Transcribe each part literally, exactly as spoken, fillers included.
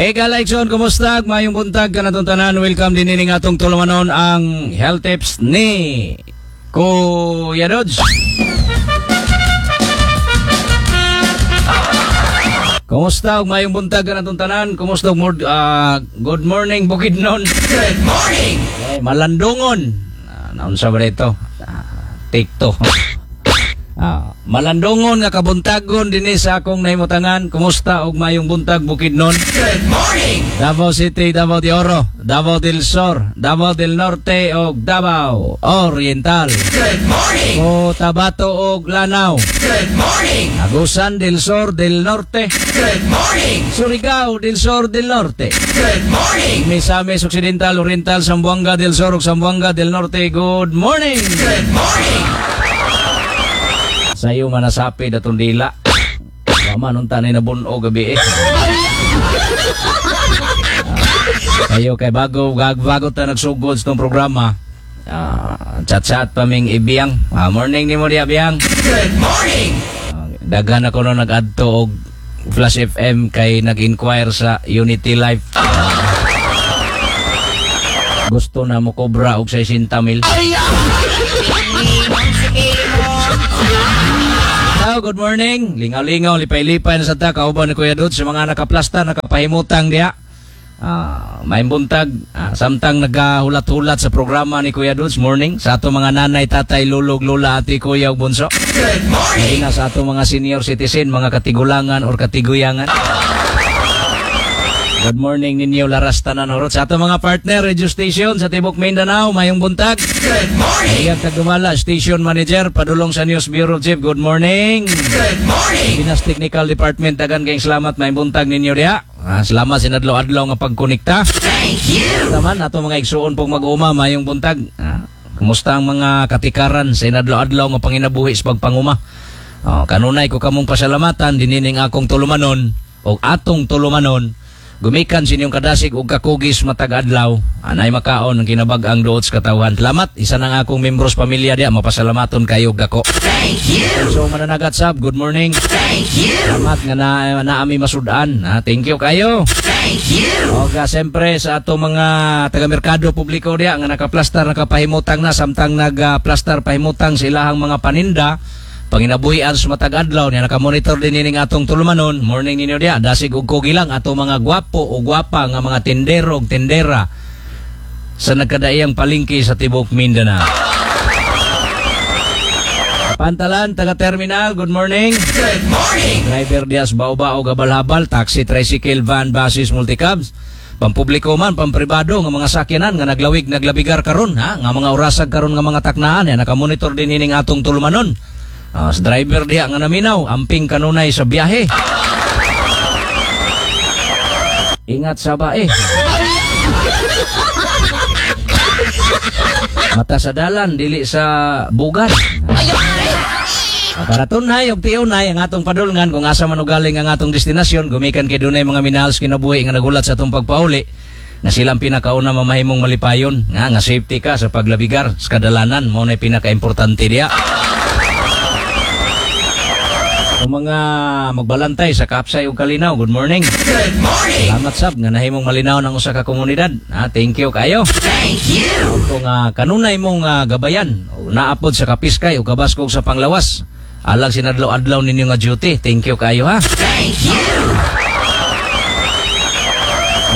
Hey Galaikson, kumusta? Mayong buntag kanatong tanan. Welcome din ining atong tulumanon, ang health tips ni Kuya Dodge. Kumusta ug mayong buntag kanatong tanan? Kumusta ug mor- ah, good morning, Bukidnon. Good morning. Eh, malandungon. Ah, naunsa ba ito? Ah, take two. Ah, malandungon nga kabuntagon dinhi sa akong nahimutangan. Kumusta og mayong buntag, Bukidnon? Good morning. Davao City, Davao de Oro, Davao del Sur, Davao del Norte ug Davao Oriental. Good morning. Cotabato ug Lanao. Good morning. Agusan del Sur del Norte, Good morning. Surigao del Sur del Norte. Good morning. Misamis Occidental, Oriental, Zamboanga del Sur ug Zamboanga del Norte. Good morning. Good morning. Sayo manasapi datong dila. Wa man unta na nabuno gabi eh. Ah, Kayo kay bago gag bago ta nagsugod sa tong programa. Ah, chat-chat pa ming ibiyang. Ah, morning nimo diya, Biyang. Good morning. Ah, daghan ako no nag-adto og Flash F M kay nag-inquire sa Unity Life. Ah, gusto na mo kobra og sixty mil. Hello, good morning. Lingaw-lingaw, lipay-lipay na sa ta kauban ni Kuya Dod sa mga nakaplasta, nakapahimutang diya. Ah, may buntag, ah, samtang nagahulat-hulat sa programa ni Kuya Dudes, morning sa ato mga nanay, tatay, lulog, lula, ate, kuya ug bunso. Good morning. Lahi na sa ato mga senior citizen, mga katigulangan or katiguyangan. Good morning ninyo, laras tanan horot. Sa ato mga partner radio station sa Tibok Mindanao, mayong buntag. Good morning. Iyang Tagumala, station manager, padulong sa News Bureau Chief. Good morning. Good morning. Pinas Technical Department, dagan kayong salamat, may buntag ninyo diha. Ah, salamat sinadlaw-adlaw nga pagkonekta. Thank you. Naman ato mga igsuon pong mag-uma, mayong buntag. Ah, kumusta ang mga katikaran sa inadlaw-adlaw nga panginabuhi sa pagpanguma? Oh, kanunay ko kamong pasalamatan dinining akong tulumanon o atong tulumanon gumikan sa inyong kadasig ug kakugis matag adlaw anay makaon ang kinabag-ang duot sa katawhan. Salamat, isa nang akong membros pamilya diya, mapasalamaton kayo dako. Thank you. So mananagat sab, good morning. Thank you. Salamat nga na naami masudan. Ah, thank you kayo. Thank you. Oga, siyempre sa ato mga taga-merkado publiko diya nga nakaplastar, nakapahimutang na samtang nagplastar pahimutang sa ilahang mga paninda panginabuhian sa matag adlaw niya, nakamonitor din ining atong tulumanon, morning ninyo diya. Dasig og kugi lang ato mga gwapo o gwapa nga mga tindero ug tindera sa nagkadaiyang palengke sa tibok Mindanao. Pantalan, taga-terminal, good morning. Good morning. Driver dias bao-bao, gabal-habal, taxi, tricycle, van, buses, multicabs. Pampubliko man, pampribado nga mga sakyanan nga naglawig, naglabigar karon ha, nga mga orasag karon nga mga taknaan ya, nakamonitor din ining atong tulumanon. Ah, sa driver diha nga naminaw, amping kanunay sa biyahe. Ingat sa bae. Mata sa dalan, dili sa bugan. Ah, para tunay og tiunay ang atong padulngan kung asa man ugaling ang atong destinasyon, gumikan kay dunay mga minahal sa kinabuhi nga nagulat sa atong pagpauli na silang pinakauna mamahimong malipayon nga nga safety ka sa paglabigar sa kadalanan, mao nay pinakaimportante diya. Ang mga magbalantay sa Kapsay ug Kalinaw, good morning. Good morning. Salamat sab nga nahimong malinaw ng usa ka komunidad. Ah, thank you kayo. Thank you. Kung uh, kanunay mong ah, gabayan, o naapod sa kapiskay o kabaskog sa panglawas, alang sinadlaw-adlaw ninyo nga duty. Thank you kayo ha. Thank you.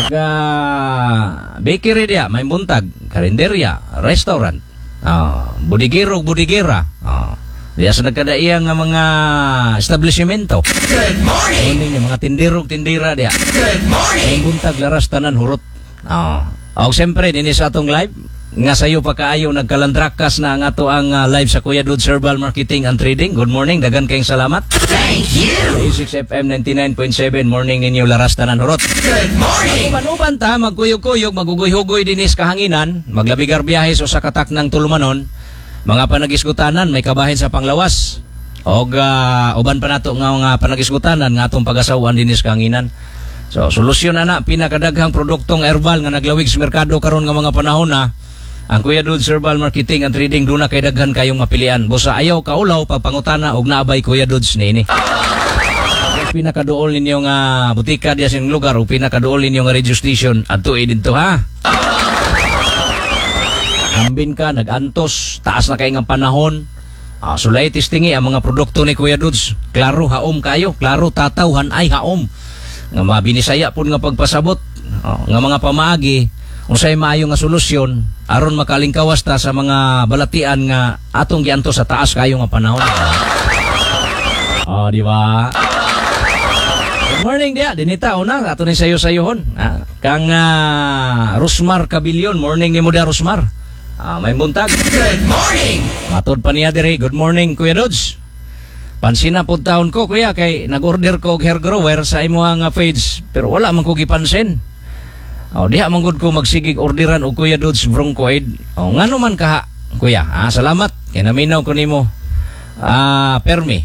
Aga bakery diya, may buntag, karinderya, restaurant, ah, budigero, budigera. Ah, diya sa nagkadaiya nga mga establishmento. Good morning. Morning mga tindero, tindera diya. Good morning. May buntag laras tanan hurot. Ah. Og siyempre dinhi sa atong live nga sayo pa kaayo nagkalandrakas na ang ato ang ah, live sa Kuya Dudes Herbal Marketing and Trading. Good morning, dagan kayong salamat. Thank you. Sa six F M ninety-nine point seven, morning ninyo laras tanan hurot. Good morning. Uban-uban ta, magkuyog-kuyog, magugoy-hugoy dinis kahanginan, maglabigar biyahe sa usa ka taknang tulumanon, mga panagisgutanan may kabahin sa panglawas. Og ah, uban pa nato nga mga panagisgutanan nga atong pagasawan dinis kahanginan. So solusyon na na pinakadaghang produktong herbal nga naglawig sa merkado karon nga mga panahon na ang Kuya Dudes Herbal Marketing and Trading, duna kay daghan kayong mapilian. Busa ayaw kaulaw pagpangutana og naabay Kuya Dudes niini. Pinakaduol ninyo nga butika diya sa inyong lugar o pinakaduol ninyo nga radio station, adto didto, ha. Ambin ka, nag-antos, taas na kay nga panahon. Ah, sulay testingi ang mga produkto ni Kuya Dudes. Klaro haom kayo, klaro tataw hanay haom. Nga mga binisaya pud nga pagpasabot, oh, nga mga pamaagi unsay maayo nga solusyon aron makalingkawas ta sa mga balatian nga atong giantos sa taas kayo nga panahon. Oh, di ba? Good morning dia, dinita una ato ni sayo sayohon. Ah, kang ah, Rosmar Cabillion, morning nimo dia, Rosmar. Ah, may buntag. Good morning. Matod pa niya dire, "Good morning, Kuya Dodge. Pansina pud taon ko, kuya, kay nag-order ko og hair grower sa imuhang nga page pero wala man ko gipansin. Oh, diha man gud ko magsigig orderan og Kuya Dodge Broncoid. Oh, ngano man kaha, kuya? Ah, salamat kay naminaw ko nimo. Ah, permi.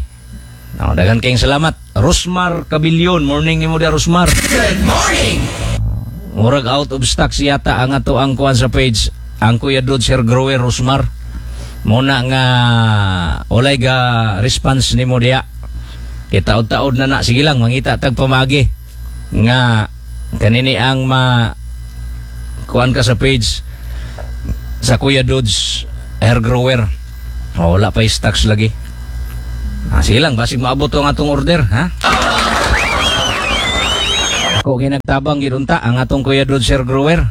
Oh, daghan kayong salamat. Rosmar Cabillion, morning nimo dia, Rosmar. Good morning. Murag out of stock yata ang ato ang kuan sa page, ang Kuya Dodge Hair Grower, Rosmar. Muna nga walay ga response nimo diya. Kita taod na na, sige lang, mangita tag pamagi nga kanini ang ma kuan ka sa page sa Kuya Dodge Hair Grower. Oh, wala pa stocks lagi. Ah, sige lang, basig maabot ang atong order, ha? Ako ginagtabang gidunta ang atong Kuya Dodge Hair Grower.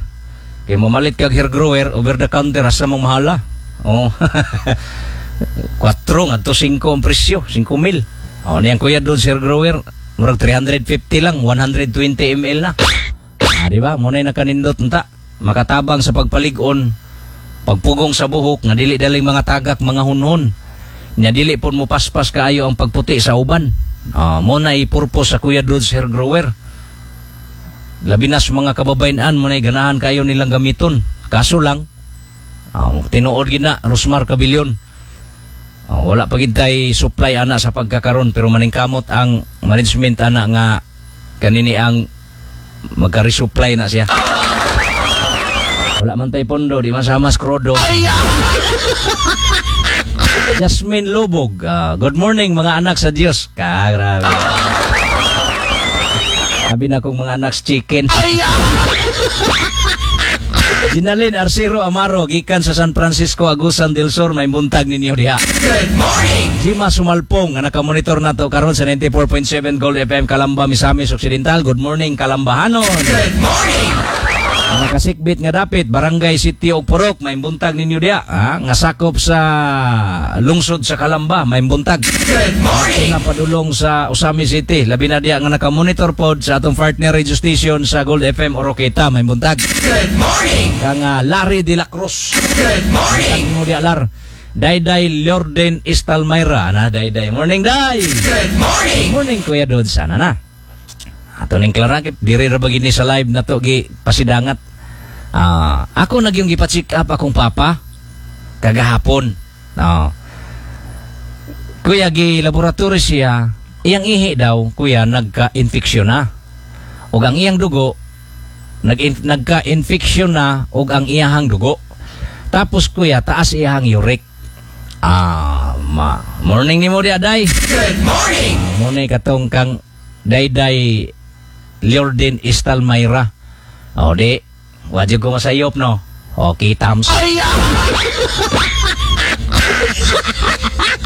Kay mamalit kag hair grower over the counter, asa mong mahala. Oh. kuwatro ngadto singko ang presyo, singko mil. Oh, niyang Kuya Dodge Hair Grower, murag three hundred fifty lang, one hundred twenty milliliters na. Ah, di ba? Mo na nakanindot unta. Makatabang sa pagpalig-on, pagpugong sa buhok nga dili daling mga tagak, mga hunhon. Nya dili pud mo paspas kaayo ang pagputi sa uban. Ah, mo na i-purpose sa Kuya Dodge Hair Grower. Labi na sa mga kababayan, mo na ganahan kayo nilang gamiton. Kaso lang, ah, tinuod gina, Rosmar Cabillion. Ah, wala pa gid tay supply ana sa pagkakaron pero maningkamot ang management ana nga kanini ang magka-resupply na siya. Wala man tay pondo, di man sama skrodo. Jasmine Lubog, ah, "Good morning, mga anak sa Diyos." Ka, grabe. Sabi na kong mga anak sa chicken. Ginalin Arcero Amaro, gikan sa San Francisco, Agusan del Sur, may buntag ninyo diha. Good morning. Jima Sumalpong, nga nakamonitor nato karon sa ninety-four point seven Gold F M Calamba, Misamis Occidental. Good morning, Kalambahanon. Good morning. Mga kasikbit nga dapit, Barangay City og Purok, may buntag ninyo diha. Ha? Nga sakop sa lungsod sa Calamba, may buntag. Good morning. Nga padulong sa Ozamiz City, labi na diha nga nakamonitor pod sa atong partner radio station sa Gold F M Oroquieta, may buntag. Good morning. Kang ah, Larry de la Cruz. Good morning. Mo diha, Lar. Dayday Lorden Istalmayra na Dayday. Morning, Day. Good morning. Morning, Kuya Dod, sana na. Ato ning klarakit diri ra ba gini sa live na to gi pasidangat. Ah, ako nagyong gipa-check up akong papa kagahapon. No. Kuya, gi laboratory siya, iyang ihi daw, kuya, nagka-infeksyon na. Ug ang iyang dugo nag nagka-infeksyon na ug ang iyahang dugo. Tapos kuya, taas iyahang uric. Ah, ma morning nimo di aday. Good morning. Muna katong kang Dayday Liorden Istalmayra. O di, wajib ko masayop, no? Okay, thumbs.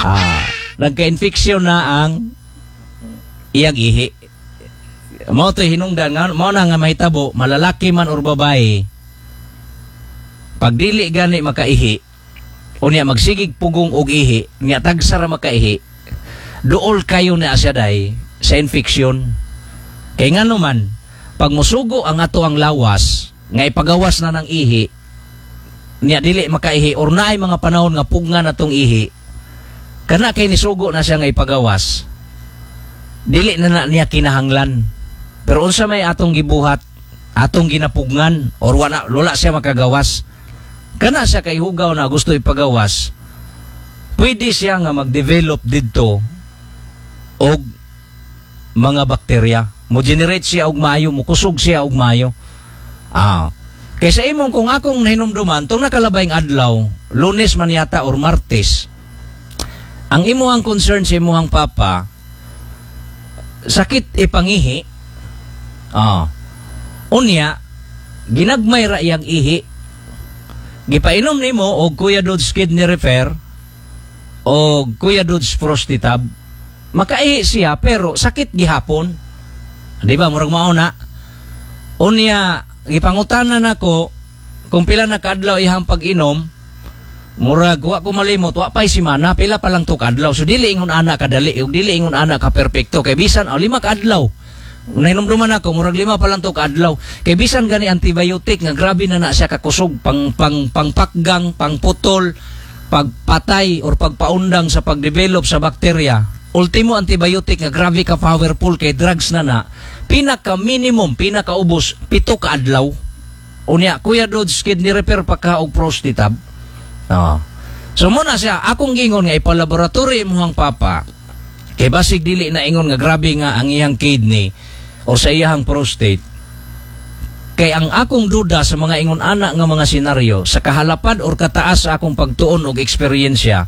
Ah, nagka-infection na ang iyang ihi. Mao to hinungdan nga mao na nga mahitabo, malalaki man or babae, pag dili gani makaihi unya magsigig pugong og ihi nya tagsa ra makaihi, duol kayo na siya day sa infection. Kay ngano man, pag musugo ang ato ang lawas nga ipagawas na ng ihi niya, dili makaihi or naay mga panahon nga pugna na tong ihi, kana kay nisugo na siya nga ipagawas, dili na na niya kinahanglan. Pero unsa may atong gibuhat, atong ginapugngan or wala wala siya makagawas, kana siya kay hugaw na gusto ipagawas, pwede siya nga mag-develop didto og mga bakterya, mo generate siya og maayo, mo kusog siya og maayo. Ah, kaysa imong kung akong nahinumduman tong nakalabay adlaw, Lunes man yata or Martes, ang imuhang concern sa imuhang papa Sakit ipangihi. Ah. Unya, ginagmay ra iyang ihi. Gipainom nimo og Kuya Dudes Kidney Repair o Kuya Dudes Prostatab. Makaihi siya pero sakit gihapon. Di ba murag mao na? Unya, gipangutanan nako kung pila na kaadlaw iyang pag-inom, murag wa ko malimot, wa pa'y simana, pila pa lang to kaadlaw. So dili ingon ana kadali, ug dili ingon ana ka perpekto kay bisan oh, lima kaadlaw. Nahinumduman ako, murag lima pa lang to kaadlaw. Kay bisan gani antibiotic nga grabe na na siya kakusog pang pang pangpakgang, pangputol, pagpatay or pagpaundang sa pagdevelop sa bakterya. Ultimo antibiotic nga grabe ka powerful kay drugs na na. Pinaka minimum, pinakaubos pito ka adlaw. Unya, Kuya Dodge, kidney repair pa ka og prostatab. Oo. So muna siya, akong gingon nga ipalaboratory imong papa. Kay basig dili na ingon nga grabe nga ang iyang kidney or sa iyang prostate. Kay ang akong duda sa mga ingon ana nga mga senaryo sa kahalapad or kataas sa akong pagtuon og eksperyensya,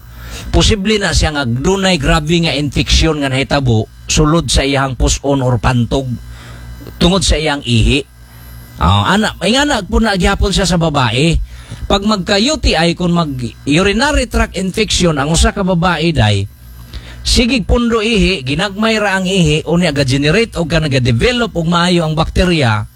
posible na siya nga dunay grabe nga infeksyon nga nahitabo sulod sa iyang puson or pantog tungod sa iyang ihi. Ah, ana, ay nga na po na gihapon siya sa babae. Pag magka U T I, kung mag urinary tract infection ang usa ka babae day, sigig pundo ihi, ginagmay ra ang ihi, unya ga-generate og ka naga-develop og maayo ang bakterya.